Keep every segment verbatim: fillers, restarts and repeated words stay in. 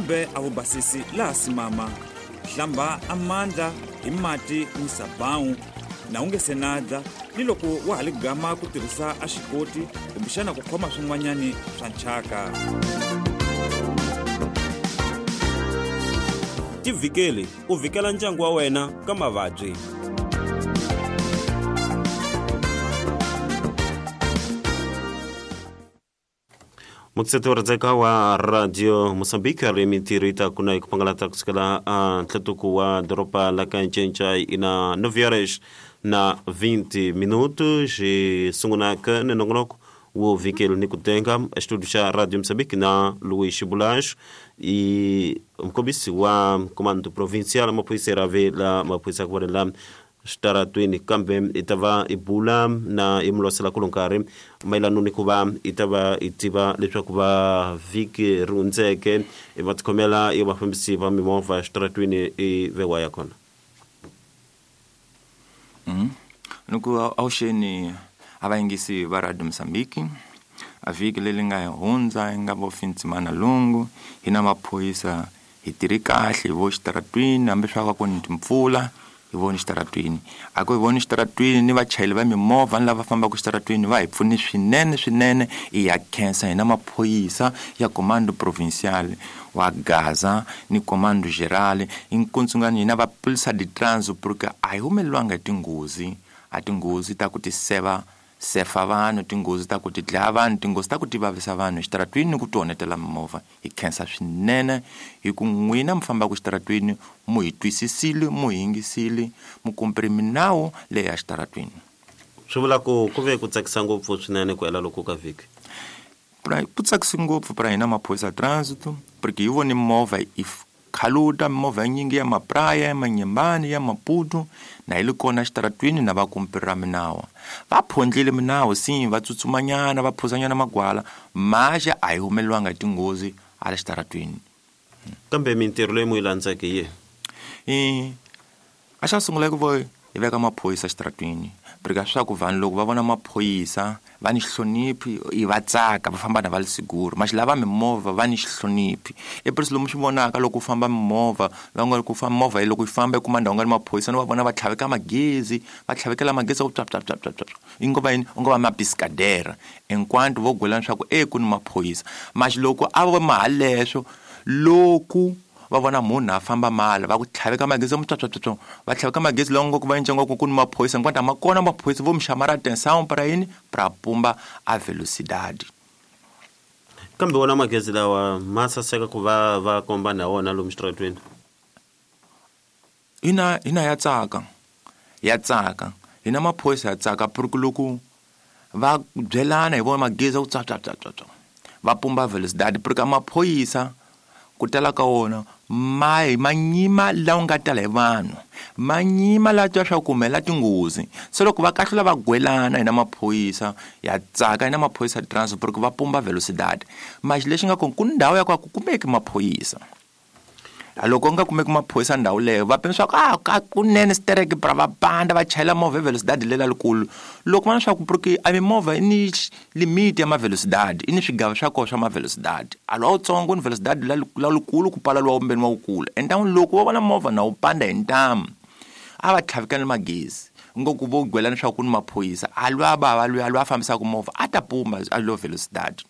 Kumbe a vubasisi laha simama hlamba amandla hi mati ni sabão na u nge se na dla ni loko wa ha li gama ku tirhisa a xikoti kumbexana ku khoma swin'wanyani swa nchaka. Tivhikeli u vhikela ndyangu wa wena ka mavabyi. Mutseto radzeka wa Radio Mozambique ri mintirho yi ta kuna hi ku pangalata kusukela a ntlhatuko wa doroba la ka Ncencai ina nove horas na vinte minutos e sungula ka nongonoko wo vhikeli ni ku tenga estúdio xa Radio Mozambique na Luís Bulacho e mkombisi wa comando provincial maphorisa rave la maphorisa ku la xitaratweni kambe i ta va i bula na i mulosela ku nkarhi mayelana ni ku va i ta va i tiva leswaku va vhiki ri hundzeke i va tikhomela i vafambisi va mimovha xitaratweni i vewa ya kona. Mm. Nuku awuxeni a va yingisi va Radio Mozambique a vhiki leri nga hundza yi nga vo Fintsimana Lungu hi na maphorisa hi tirhi kahle hi vo xitaratwini hambi swa ku ni timpfula hi voni xitaratwini a ku hi voni xitaratwini ni vachayeri va mimovha ni lava fambaka xitaratwini va hi pfuni swinene swinene i ya khensa hi na maphorisa ya comando provincial wa Gaza ni comando geral inkuntsungani hina va polisa de trânsito porque a hi humelelwanga hi tinghozi a tinghozi ta ku ti seva sefa vanhu tinghozi ta ku ti dlaya vanhu tinghozi ta ku ti vavisa vanhu xitaratwini ni ku ti onhetela mimovha. Hi khensa swinene hi ku n'wina mi fambaka xitaratwini mu hi twisisile mu hi yingisile mu kumpiri minawu leyi ya xitaratwini. Swi vula ku ku ve ku tsakisa ngopfu swinene ku hela loko ka vhiki. Ku tsakisi ngopfu pra hina maphorisa trânsito porque hi vone movha i khaluta mimovha yinyingi ya mapraya ya Manyembani ya Maputo na hi li kona xitaratwini na va kumpirira minawa va phondlile minawu si va tsutsumanyana va phuzanyana magwala maxa a hi humelelwanga hi tinghozi ala xitaratwini. Kambe mintirho leyi mu yi landzeke hi i a xa sungula ku vo hi veka maphorisa xitaratwini porque swa ku vanhu loko va vona maphorisa va ni xihloniphi i va tsaka va famba na va li siguro maxi lava mimovha va ni xihloniphi i presi lomu swi vonaka loko u famba mimovha va nga ku famba movha loko yi famba i kuma ndhawu nga ni maphorisa no va vona va tlhaveka magezi va tlhavekela magezi ku pya pya pya pya pya i ngo va yini u ngo va mapiskadera enquanto vo gwelana swa ku e ku ni maphorisa maxi loko a va mahaleswo loko va vona munhu a famba mala va ku tlhaveka magezi mu tswatswatswa va tlhaveka magezi lawa ngo ku va ncengo ku ku ni maphorisa hinkwato a ma kona maphorisa vo mi xamara atenção para yini para pumba a velocidade. Kambe wona magezi lawa ma saseka ku va va komba na wona lomu xitaratweni. Hina hina ya tsaka ya tsaka hina maphorisa ya tsaka porque loko va byelana hi vona magezi ku tswatswatswatswa va pumba velocidade porque maphorisa ku tala ka wona ma ma nyima lawa nga tala hi vanhu ma nyima la twa swa ku humela tinghozi se loko va kahlula va gwelana hina maphorisa ya tsaka hina maphorisa transport porque va pumba velocidade maxi lexi nga kona ku ndhawu ya ku a ku kumeki maphorisa loko u nga kumeki maphorisa ndhawu leyo va pima swa ku a ka kunene stereke pra va panda va chayela movha hi velocidade lela likulu loko va na swa ku porque a mimovha i ni limit ya mavelocidade i ni swigava swa kona swa mavelocidade a lowa wutsongo ni velocidade la la likulu ku pala lowa wumbeni wa wukulu entan'wini loko va vona movha na wu panda hi ntamu a va tlhavikani magezi ngo ku vo gwelana swa ku ni maphorisa a lwa bava lwa lwa fambisaka movha a ta pumba a lo velocidade.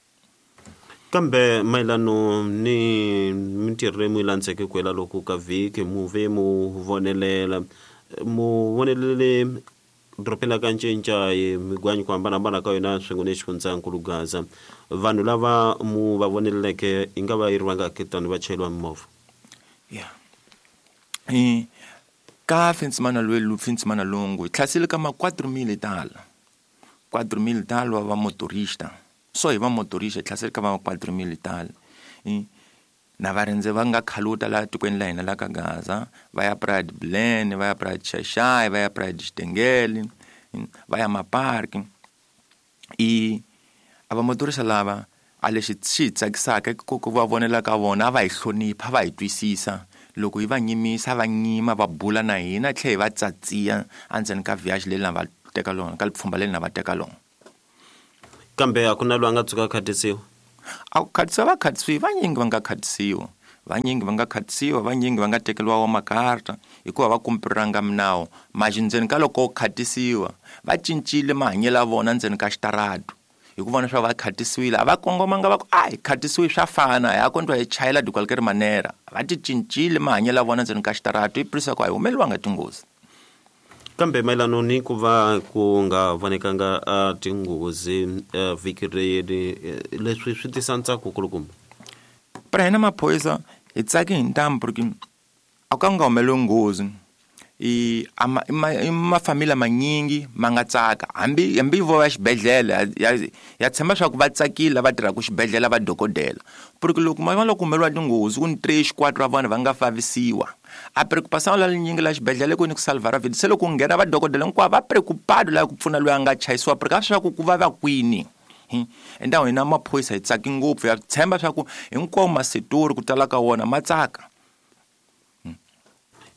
Kambe mayelano ni mintirho leyi mu yi landzeke ku hela loko ka vhiki mu ve mu vonelela mu vonelele dorobeni la ka Ncencai migwanyi ku hambanahambana ka yona swin'we ni xifundzankulu Gaza vanhu lava mu va voneleleke yi nga va yi ri vangaki tani vachayeri va mimovha. Yeah. I ka Fintsimana lwelu Fintsimana Lungu hi tlhasile ka ma quatro mil tala quatro mil tala va motorista so hi va motorista hi tlhasele ka va quatro mil tala na varindzi va nga khaluta laha tikweni la hina la ka Gaza va ya Pride Blen va ya Pride Xaxai va ya Pride Xitengele va ya maparki i a va motorista lava a lexi xi hi tsakisaka ku ku va vonela ka vona a va hi hlonipha va hi twisisa loko hi va nyimisa va nyima va bula na hina tlhe hi va tsatsiya endzeni ka viage leri na va teka lona ka lipfhumba leri na va teka lona. Kambe a ku na loyi a nga tshuka a khatisiwa? A ku khatisiwa va khatisiwa vanyingi va nga khatisiwa Vanyingi va nga khatisiwa, vanyingi va nga tekeriwa wa makarta hikuva va kumpiranga minawu. Manje ndzeni ka loko khatisiwa va cincile mahanyelo ya vona ndzeni ka xitaratu hi ku vona swa va khatisiwile. A va kongomanga va ku a hi khatisiwe swa fana, hi kondwa hi chayela de qualquer manera. Va ti cincile mahanyelo ya vona ndzeni ka xitaratu hi prisa ku a hi humeleriwanga tinghozi. Kambe mayelana ni ku va ku nga vonekanga a tinghozi vhiki leri, leswi swi tisa ntsako kulukumba. Pra hina maphorisa hi tsaki hi ntamu porque a ku nga humeleli nghozi. I ama i mafamili manyingi ma nga tsaka hambi hambi vo ya xibedhlele ya ya tshemba swa ku va tsakile va tirhaka xibedhlele va dokodela. Porque loko ma loko humeleriwa tinghozi ku ni tres quatro va vona va nga favisiwa. A preocupação la linyingi la xibedhlele ku ni ku salvar a vida. Se loko nghena va dokodela hinkwavo va preocupado la ku pfuna loyi a nga chayisiwa porque a swa ku ku vava kwini. Endawo hina maphorisa hi tsaki ngopfu, ya tshemba swa ku hinkwawo masetori ku tala ka wona ma tsaka.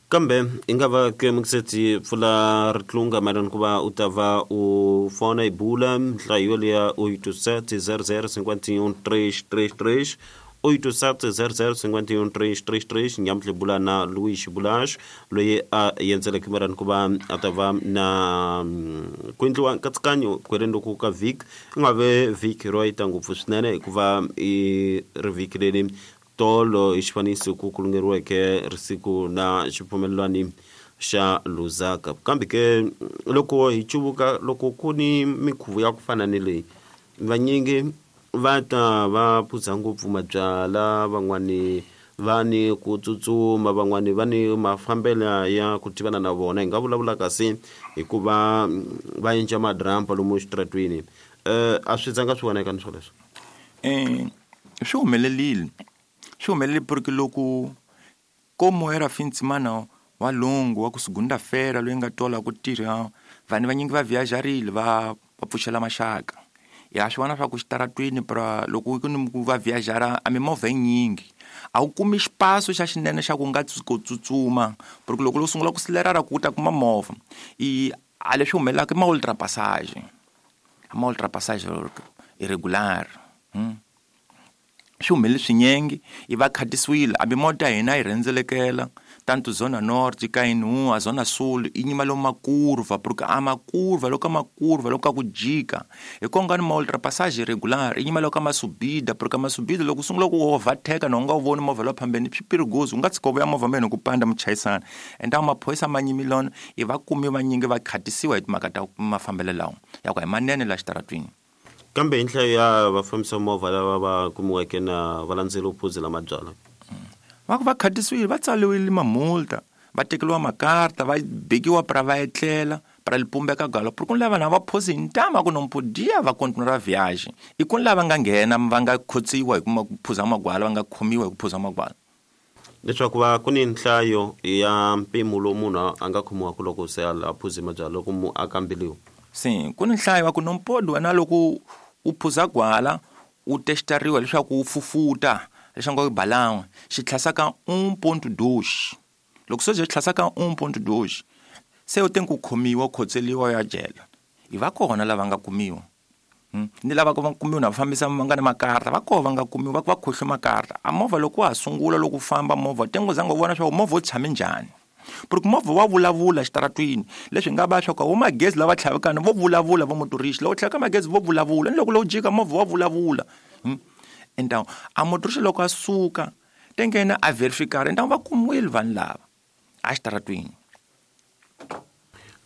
Kambe i nga va ke mukiseti pfula ritlunga mayelana ku va u ta va u fona hi bula nhlayo liya oito sete zero zero cinquenta e um três três três, oito sete zero zero cinquenta e um três três três. Nyamutlhe bula na Luís Bulacho loyi a endzeleke mayelana ku va a ta va na ku endliwa nkatsakanyo ku heleni loku ka vhiki. I nga ve vhiki ro yita ngopfu swinene hikuva i ri vhiki leri tolo hi xifaniso ku kulungeriweke risiku na xipfumelelwani xa Lusaka. Kambe ke loko hi cuvuka loko ku ni minkhuvo ya ku fana ni leyi, vanyingi va ta va phuza ngopfu mabyala, van'wani va ni ku tsutsuma, van'wani va ni mafambelo ya ku tivana na vona. Hi nga vulavula kasi hikuva va endla madrampa lomu xitaratwini. Eh a swi zanga swi voneka ni swoleswo? Eh swi humelerile. Swi humelele porque loko como era fim de semana wa longo wa ku segunda-feira loyi nga tola ku tirha, vanhu vanyingi va viajarile va va pfuxela maxaka. Ya swi vona swa ku xitaratwini pra loko ku ni ku va viajara a mimovha yinyingi a wu kumi xipaso xa xinene xa ku nga ku tsutsuma porque loko lo sungula ku silerara ku ta kuma movha. I a leswi humelelaka i ma ultrapassage, ma ultrapassage irregular. Hmm. Swi humelele swinyingi i va khatisiwile hambi mota ya hina yi rhendzelekela tanto zona norte ka inu a zona sul i nyima lomu makurva porque a makurva loko makurva loko ku jika hi konga ni ma ultrapassage irregular i nyima loko masubida porque masubida loko sungula ku overtake na u nga wu voni movha lowu phambeni swi perigoso u nga tshika u vuya movha mene ku panda muchayisana. Ende maphorisa ma nyimilona i va kumi vanyingi va khatisiwa hi timhaka ta mafambelo lawa ya ku hi manene la xitaratwini. Kambe hi nhlayo ya vafambisi movha lava va kumiweke na va landzela phuzela mabyala va ku va khatisiwile, va tsariwile mamulta, va tekeriwa makarta, va bekiwa pra va etlela pra lipumbeka galo porque ku lava na va phosi hi ntama ku no podia va continuar viagem. I ku lava nga nghena va nga khotsiwa hi ku phuza magwala, va nga khomiwa hi ku phuza magwala. Leswaku va ku ni nhlayo ya mpimo lowu munhu a nga khomiwaka loko se a phuze mabyala loko mu a kambeliwa. Sim, ku ni nhlayo wa ku no mpodi wena loko u phuza gwala u testariwa leswaku u fufuta leswaku u balanwa xi tlhasaka um ponto dois. Loko se xi tlhasaka um ponto dois se u tenku khomiwa khotseliwa ya jela. I va kona lava nga kumiwa. Hmm? Ni lava va kumiwa na fambisa va nga na makarta, va kona va nga kumiwa va va khohle makarta. A movha loko wa sungula loko famba movha tengo zanga u vona swa movha wu tshame njhani. Porque movha wa vulavula xitaratwini leswi nga va swa ku magezi lava tlhavekana vo vulavula vo motorista loko tlhaveka magezi vo vulavula ni loko lo jika movha wa vulavula. Hmm? Então a motorista loko a suka tengena a verificar então va kumiwile vanhu lava a xitaratwini.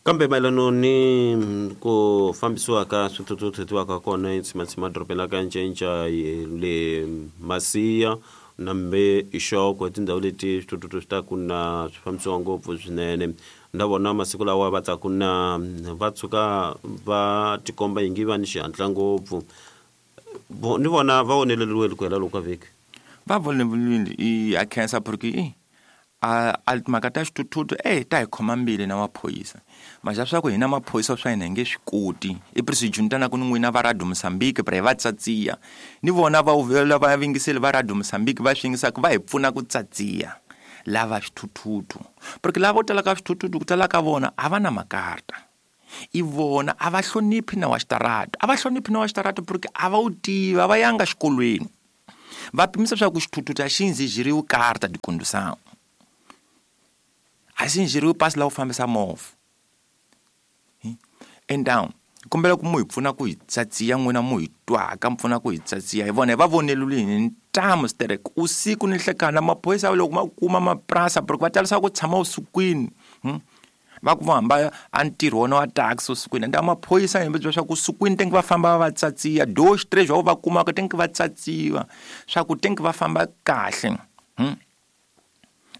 Kambe mayelana ni ku fambisiwa ka swithuthuthu ka kona eTshimatsima dorobeni la ka Ncenca le Masiya na mbe Xoko tindhawu leti swithuthuthu swi ta ku na swi fambisiwa ngopfu swinene. Na vona masiku lawa va ta ku na va tshuka va tikomba ingi va ni xihatla ngopfu. Ni vona va onheleriwile ku hela loko ka vhiki. Va voneleriwile i a khensa porque i a a timhaka ta xithuthuthu eh ta hi khoma mbili na maphorisa. Maxa swa ku hina maphorisa swa hina hi nge swi koti. I presijuntana ku ni n'wina va Radio Mozambique pra hi va tsatsiya. Ni vona va uvela va vingiseli va Radio Mozambique va swi yingisaka va hi pfuna ku tsatsiya lava swithuthuthu. Porque lava vo tala ka swithuthuthu ku tala ka vona a va na makarta. I vona a va hloniphi na wa xitarata. A va hloniphi na wa xitarata porque a va wu tivi, a va yanga xikolweni. Va pimisa swa ku xithuthuthu a xi ndzijiriwi carta de condução. A xi ndzijiriwi pasi la ku fambisa movha. Então kombela ku mu hi pfuna ku hi tsatsiya n'wina mu hi twaka mi pfuna ku hi tsatsiya hi vona hi va vonelulini ntamu sterek usiku ni nhlekani maphorisa loko ma kuma mapurasa porque va talisa ku tshama usikwini hmm? Va ku va hamba a ntirho wona wa taxi usikwini ende maphorisa hi byela swa ku usikwini tenke va famba va tsatsiya dois três va va kumaka tenke va tsatsiwa swa ku tenke va famba kahle hmm?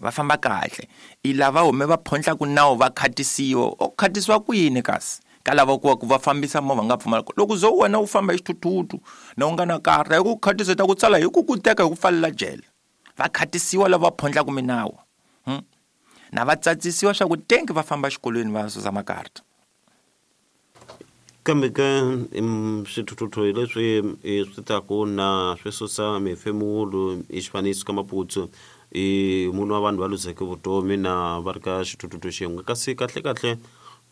Va famba kahle i lava hume va phondla ku nawu va khatisiwa o khatisiwa kwini kasi ka lava ku ku va fambisa movha nga pfumala loko zo wena u famba hi xithuthuthu na u nga na karta hi ku khatisa ta ku tsala hi ku ku teka hi ku pfalela jele va khatisiwa lava phondlaka minawu hmm? Na va tsatsisiwa swa ku tenke va famba xikolweni va susa makarta kambe ka swithuthuthu hi leswi swi taku na swi susa mifemulo i xifaniso ka maputsu i munhu wa vanhu va luzeke vutomi na va ri ka xithuthuthu xin'we kasi kahle kahle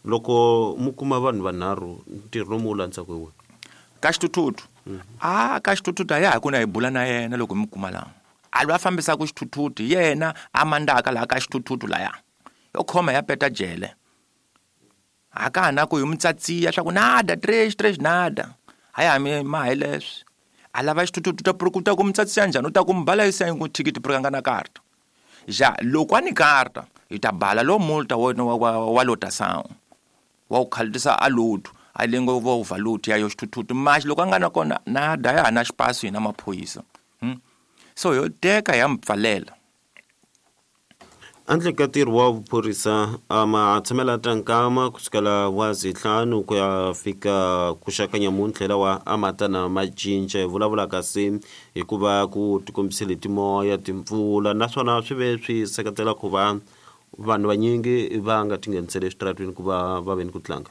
loko mu kuma vanhu vanharhu ntirho lomu wu landzaka hi wena ka xithuthuthu a ka xithuthuthu a ya ha ku na hi bula na yena loko mi kuma laha a lwa fambisaka xithuthuthu yena a mandaka laha ka xithuthuthu laya yo khoma ya peta jele a ka ha na ku hi mu tsatsiya swa ku nada três três nada a ya mi ma hi leswi a lava xithuthuthu ta ku ta ku mu tsatsiya njhani u ta ku mi bala yisa hi ku thikithi porque a nga na karta ja loko a ni karta hi ta bala lo multa wena wa wa, wa lotação wa ku khalisa a load a lengo va overload ya yo xithuthuthu mas loko a nga na kona nada ya ha na xipaso hina maphorisa hmm? So yo teka ya mpfalela handle ka ntirho wa vuphorisa a ma tshamela ta nkama kusukela wa zintlhanu ku ya fika ku xaka nyamuntlha lawa a ma ta na ma cinca hi vulavula kasi hikuva ku tikombisile timoya timpfula naswona swi ve swi seketela ku va vanhu vanyingi va nga tingheniseli eswitaratweni ku va va ve ni ku tlanga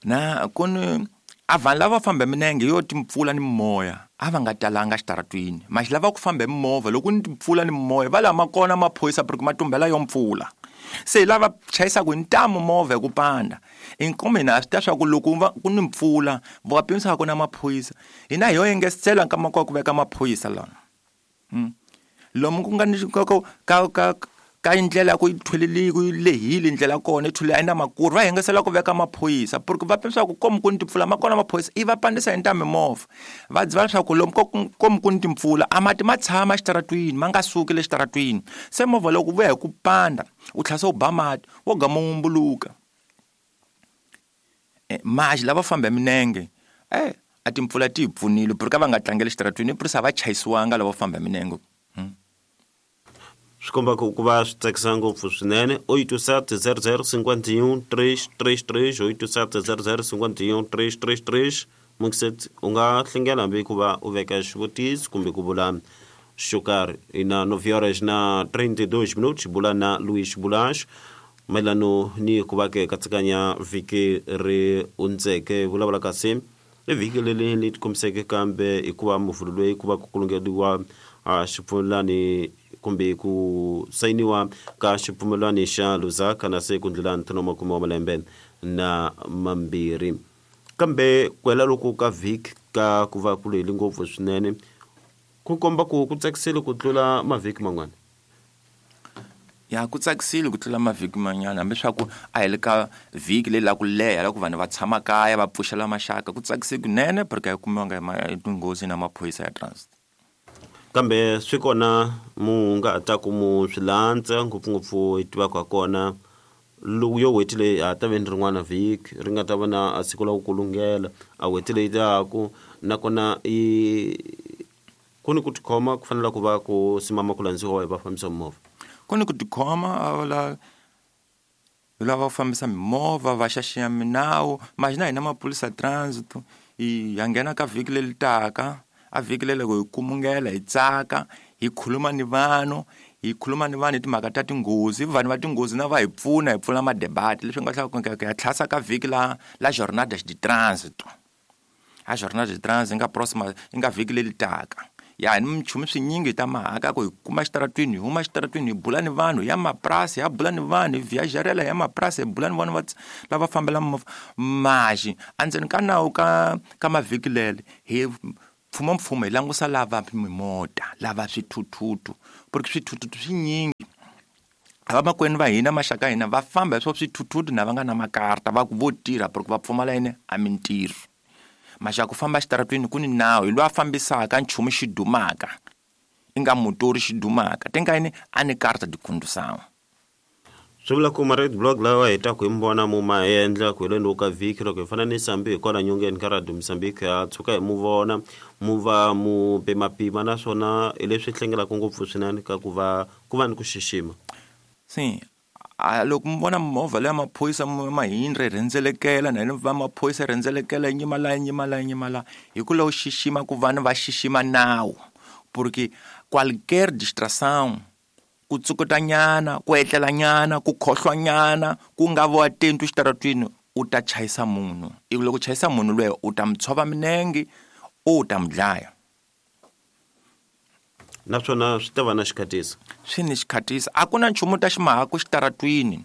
na ku ni a vanhu lava famba minenge yo timpfula ni moya a va nga talanga xitaratwini maxi lava ku famba hi mimovha loko ni timpfula ni moya va lama kona maphorisa porque ma tumbela yo mpfula se lava chayisaka hi ntamu movha hi ku panda inkomo hina a swi ta swa ku loko va ku ni mpfula va pimisaka ku na maphorisa hina hi yo engesela nkama kwa ku veka maphorisa lana hmm. Lomu ku nga ni ka ka ka ka ndlela ku yi thweleli ku yi lehile ndlela kona yi thwele a yi na makuru va hengesela ku veka maphorisa porque va pimisa ku komu ku ni timpfula ma kona maphorisa i va pandisa hi ntamu mimovha va dziva leswaku lomu komu ku ni timpfula a mati ma tshama xitaratwini ma nga suki le xitaratwini se movha loko vuya hi ku panda u tlhela se u ba mati wo gama wu mbuluka maxi lava famba hi minenge eh a timpfula ti hi pfunile porque a va nga tlangeli xitaratwini i a va chayisiwanga lava famba hi minenge. Swi komba ku ku va swi tsakisa ngopfu swinene oito sete zero zero cinquenta e um três três três oito sete zero zero cinquenta e um três três três Muxet u nga hlengela hambi ku va u veka xivutiso kumbe ku vula xo karhi i na nove horas na trinta e dois minutos bula na Luís Bulacho mayelano ni ku va ke katsikanya vhiki ri hundzeke vulavula kasi i vhiki leri li tikombiseke kambe hikuva muvhulu loyi ku va ku kulungeriwa xipfumelani kumbe ku sayiniwa ka xipfumelwani xa Lusaka na se ku ndlula ntlhanu wa makume wa malembe na mambirhi kambe ku hela loko ka vhiki ka ku va ku lehile ngopfu swinene ku komba ku ku tsakisile ku tlula mavhiki man'wana ya ku tsakisile ku tlula mavhiki man'wana hambi swa ku a hi le ka vhiki leyi la ku leha la ku vanhu va tshama kaya va pfuxela maxaka ku tsakisile kunene porque a yi kumiwanga hi tinghozi na maphorisa ya transit kambe swi kona mu nga ta ku mu swi landza ngopfungopfu hi tivaka ha kona loko yo n'hweti leyi a ta ve ni rin'wana vhiki ri nga ta va na a siku la ku kulungela a n'hweti leyi taku nakona i ku ni ku tikhoma ku fanele ku va ku simama ku landziwa hi vafambisi va mimovha ku ni ku tikhoma la lava fambisa mimovha va xaxiya minawu maxi na hina maphorisa transit hi ya nghena ka vhiki leri taka a vhiki leri loko hi kumungela hi tsaka hi khuluma ni vanhu hi khuluma ni vanhu hi timhaka ta tinghozi vanhu va tinghozi na va hi pfuna hi pfula madebate leswi nga tlhela ku ya tlhasa ka vhiki la la jornada de trânsito a jornada de trânsito yi nga próxima yi nga vhiki leri taka ya ni minchumu swinyingi ta mahaka ku hi kuma xitaratwini hi huma xitaratwini hi bula ni vanhu ya mapurasi ya bula ni vanhu hi viajarela ya mapurasi hi bula ni vanhu va lava fambela movha maxi endzeni ka nawu ka ka mavhiki lele hi Mfumo mfumo hi langusa lava mimota lava swithuthutu porque swithuthutu swinyingi avamakwenu va hina maxaka hina va famba hi swo swithuthutu na va nga na makarta va ku vo tirha porque va pfumala yini a mintirho maxaka ku famba xitaratwini ku ni nawu hi loyi a fambisaka nchumu xi dumaka i nga motori xi dumaka te nga yini a ni karta di condução. Swi vula ku ma-red block lawa hi taku hi mi vona mu ma endla ku heleni ka vhiki loko hi fana ni sambi hi kwala nyongeni ka Radio Mozambique ha tshuka hi mu vona mu va mu pimapima naswona hi leswi hlengelaka ngopfu swinene ka ku va ku va ni ku xixima. Sim, a loko mi vona movha leya maphorisa Mahindra yi rhendzelekela na yena va maphorisa rhendzelekela yi nyima la yi nyima la yi nyima la hi ku lava xixima ku vanhu va xixima nawu porque qualquer distração ku tsukutanyana ku etlelanyana ku khohlwanyana ku nga vo atento xitaratwini u ta chayisa munhu ivi loko chayisa munhu loyi u ta mi tshova minenge u ta mi dlaya naswona swi ta va na xikhatisa swi ni xikhatisa a ku na nchumu ta ximahaku xitaratwini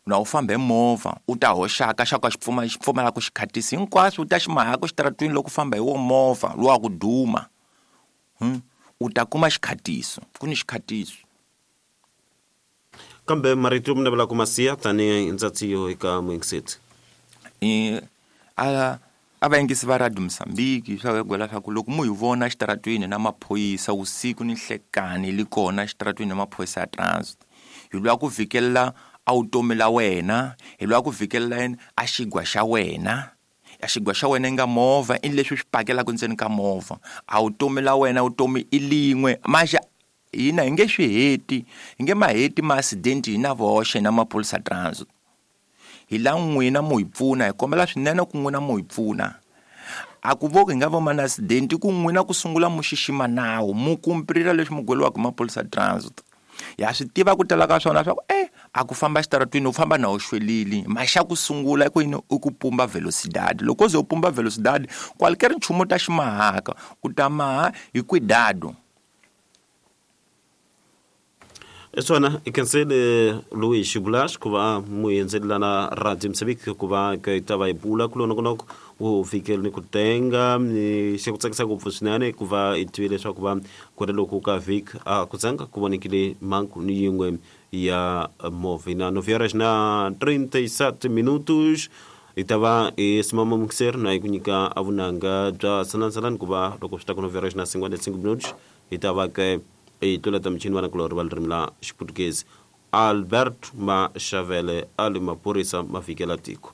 na u famba hi movha u ta hoxaka xa ka xi pfuma xi pfumalaka xikhatisi hinkwaswo u ta ximahaku xitaratwini loko u famba hi wo movha lowa ku duma u ta kuma xikhatiso ku ni xikhatiso. Kambe marito mi navela ku ma siya tanihi ndzatsiyo eka muyingiseti a a vayingisi va Radio Mozambique swa gwela swa ku loko mu hi vona xitaratwini na maphorisa usiku ni nhlekani li kona xitaratwini na maphorisa ya transit hi lwa ku vhikelela a vutomi la wena hi lwa ku vhikelela yini a xigwa xa wena a xigwa xa wena i nga movha i leswi swi pakelaka ndzeni ka movha a vutomi la wena vutomi i lin'we maxa hina hi nge swi heti hi nge ma heti ma-accident hina voxe na maphorisa transit hi la n'wina mu hi pfuna hi kombela swinene ku n'wina mu hi pfuna a ku vo hi nga vo ma na accident ku n'wina ku sungula mu xixima nawu mu kumpirila leswi mu gweliwaka hi maphorisa transit ya swi tiva ku tala ka swona swa ku eh a ku famba xitaratwini u famba na u xwelile maxa ku sungula ku yini i ku pumba velocidade loko u ze u pumba velocidade qualquer nchumu ta ximahaka u ta maha hi cuidado. Swona i khensile Luis Bulash ku va muendzelelana na Radio Mozambique ku va ka ta va hi bula ku lonongonoko wu fikele ni ku tenga ni xi ku tsakisa ngopfu swinene ku va hi tivile leswaku va ku ri loko ka vhiki a ku tsanga ku vonekile mhangu ni yin'we ya movha na nove horas na trinta e sete minutos hi ta va hi simama mukiseri na hi ku nyika a vunanga bya sanansalani ku va loko swi ta ku nove horas na cinquenta e cinco minutos hi ta va ke hi tluleta michini vana kulorhi va ririmi la xiputukezi Albert Mashavele a li maphorisa ma fikela tiko.